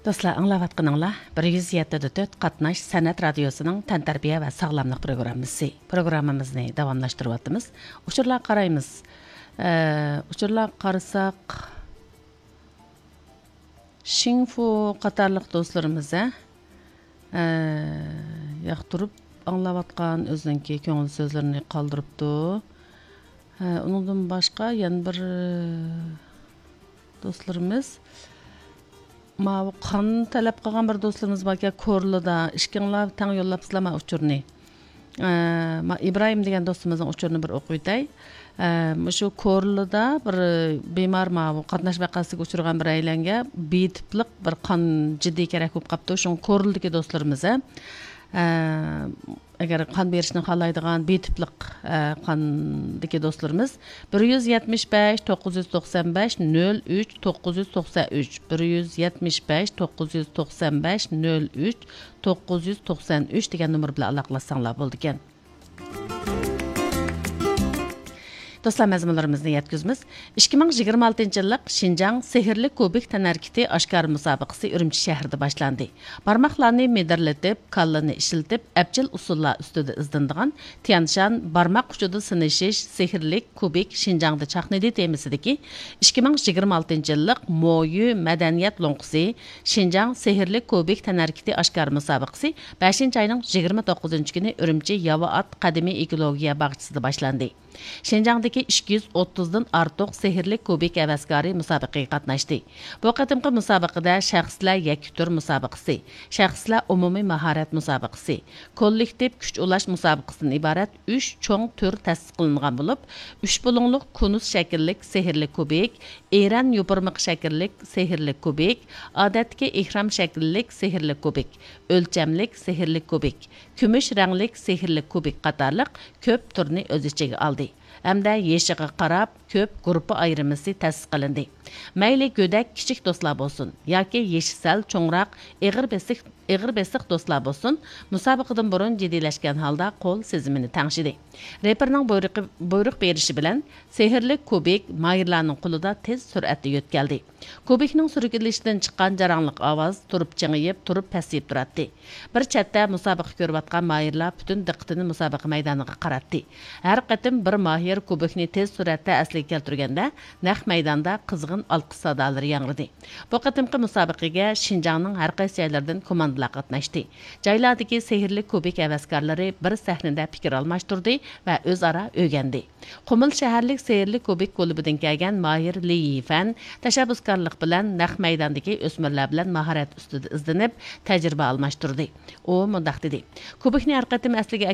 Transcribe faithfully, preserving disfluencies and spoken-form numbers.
دوستلار، ئاڭلاۋاتقىنىڭلار بىر يۈز يەتتە دە تۆت قاتناش سەنئەت رادىيوسىنىڭ تەنتەربىيە ۋە ساغلاملىق پروگراممىسى. پروگراممىمىزنى داۋاملاشتۇرۇۋاتىمىز. ئۇچۇرلارغا قارايمىز. ئە، ئۇچۇرلارغا قارىساق، شىڭفۇ قاتارلىق دوستلىرىمىز، ھە، ئە، ياقتۇرۇپ ئاڭلاۋاتقان ئۆزىنىڭكى كۆڭۈل سۆزلىرىنى قالدۇرۇپتۇ. ھە، ئۇنىڭدىن باشقا يەنە بىر، ئە، دوستلىرىمىز، ماۋۇ قان تەلەپ قىلغان بىر دوستلىرىمىز باركەن، كورلىدا. ئىككىڭلار تەڭ يوللاپسىلەر ما ئۇچۇرنى. ئە، ما ئىبراھىم دېگەن دوستىمىزنىڭ ئۇچۇرىنى بىر ئوقۇۋېتەي. ئە، مۇشۇ كورلىدا بىر بىمار، ماۋۇ قاتناش ۋەقەسىگە ئۇچرىغان بىر ئايلەنگە بى تىپلىق بىر قان جىددىي كېرەك بولۇپ قاپتۇ. شۇڭا كورلىدىكى دوستلىرىمىز، ھە، ئە، ئەگەر قان بېرىشنى خالايدىغان بى تىپلىق، ئە، قاندىكى دوستلىرىمىز بىر يۈز يەتمىش بەش، توققۇز يۈز توقسان بەش، نۆل ئۈچ، توققۇز يۈز توقسان ئۈچ، بىر يۈز يەتمىش بەش، توققۇز يۈز توقسان بەش، نۆل ئۈچ، توققۇز يۈز توقسان ئۈچ دېگەن نومۇر بىلەن ئالاقىلاشساڭلار بولىدىكەن. دوستلار، مەزمۇنلىرىمىزنى يەتكۈزىمىز. ئىككى مىڭ يىگىرمە ئالتىنچى يىللىق شىنجاڭ سېھىرلىك كۇبىك تەنھەرىكىتى ئاشكارا مۇسابىقىسى ئۈرۈمچى شەھىرىدە باشلاندى. بارماقلارنى مىدىرلىتىپ، كاللىنى ئىشلىتىپ، ئەپچىل ئۇسۇللار ئۈستىدە ئىزدىنىدىغان تيەنشان بارماق ئۇچىدا سىنىشىش سېھىرلىك كۇبىك شىنجاڭدا چاقنىدى تېمىسىدىكى ئىككى مىڭ يىگىرمە ئالتىنچى يىللىق مويۈ مەدەنىيەت لوڭقىسى شىنجاڭ سېھىرلىك كۇبىك تەنھەرىكىتى ئاشكارا مۇسابىقىسى بەشىنچى ئاينىڭ يىگىرمە توققۇزىنچى كۈنى ئۈرۈمچى ياۋا ئات قەدىمىي ئېكولوگىيە باغچىسىدا باشلاندى. شىنجاڭدىكى ئىككى يۈز ئوتتۇزدىن ئارتۇق سېھىرلىك كۇبىك ھەۋەسكارى مۇسابىقىگە قاتناشتى. بۇ قېتىمقى مۇسابىقىدە شەخسلەر يەككە تۈر مۇسابىقىسى، شەخسلەر ئومۇمىي ماھارەت مۇسابىقىسى، كوللېكتىپ كۈچ ئۇلاش مۇسابىقىسىدىن ئىبارەت ئۈچ چوڭ تۈر تەسىس قىلىنغان بولۇپ، ئۈچ بۇلۇڭلۇق كونۇس شەكىللىك سېھىرلىك كۇبىك، ئېرەن يوپۇرمىقى شەكىللىك سېھىرلىك كۇبىك، ئادەتتىكى ئېھرام شەكىللىك سېھىرلىك كۇبىك، ئۆلچەملىك سېھىرلىك كۇبىك، كۈمۈش رەڭلىك سېھىرلىك كۇبىك قاتارلىق كۆپ تۈرنى ئۆز ئىچىگە ئالدى ھەمدە يېشىغا قاراپ كۆپ گۇرۇپپا ئايرىمىسى تەسىس قىلىندى. مەيلى گۆدەك كىچىك دوستلار بولسۇن ياكى يېشى سەل چوڭراق، ئېغىر بېسىق، ئېغىر بېسىق دوستلار بولسۇن، مۇسابىقىدىن بۇرۇن جىددىيلەشكەن ھالدا قول سېزىمىنى تەڭشىدى. رېپېرنىڭ بۇيرۇقى، بۇيرۇق بېرىشى بىلەن سېھىرلىك كۇبىك ماھىرلارنىڭ قولىدا تېز سۈرئەتتە يۆتكەلدى. كۇبىكنىڭ سۈركىلىشىدىن چىققان جاراڭلىق ئاۋاز تۇرۇپ چىڭىيىپ، تۇرۇپ پەسىيىپ تۇراتتى. بىر چەتتە مۇسابىقە كۆرۈۋاتقان ماھىرلار پۈتۈن دىققىتىنى مۇسابىقە مەيدانىغا قاراتتى. ھەر قېتىم بىر ماھىر كۇبىكنى تېز سۈرئەتتە ئەسلىگە كەلتۈرگەندە، نەق مەيداندا قىزغىن ئالقىش سادالىرى ياڭرىدى. بۇ قېتىمقى مۇسابىقىگە شىنجاڭنىڭ ھەر قايسى جايلىرىدىن كوماندىلار قاتناشتى. جايلاردىكى سېھىرلىك كۇبىك ھەۋەسكارلىرى بىر سەھنىدە پىكىر ئالماشتۇردى ۋە ئۆزئارا ئۆگەندى. قۇمۇل شەھەرلىك سېھىرلىك كۇبىك كۇلۇبىدىن كەلگەن ماھىر لى يىفەن تەشەببۇسكارلىق بىلەن نەق مەيداندىكى ئۆسمۈرلەر بىلەن ماھارەت ئۈستىدە ئىزدىنىپ، تەجرىبە ئالماشتۇردى. ئۇ مۇنداق دېدى: كۇبىكنى ھەر قېتىم ئەسلىگە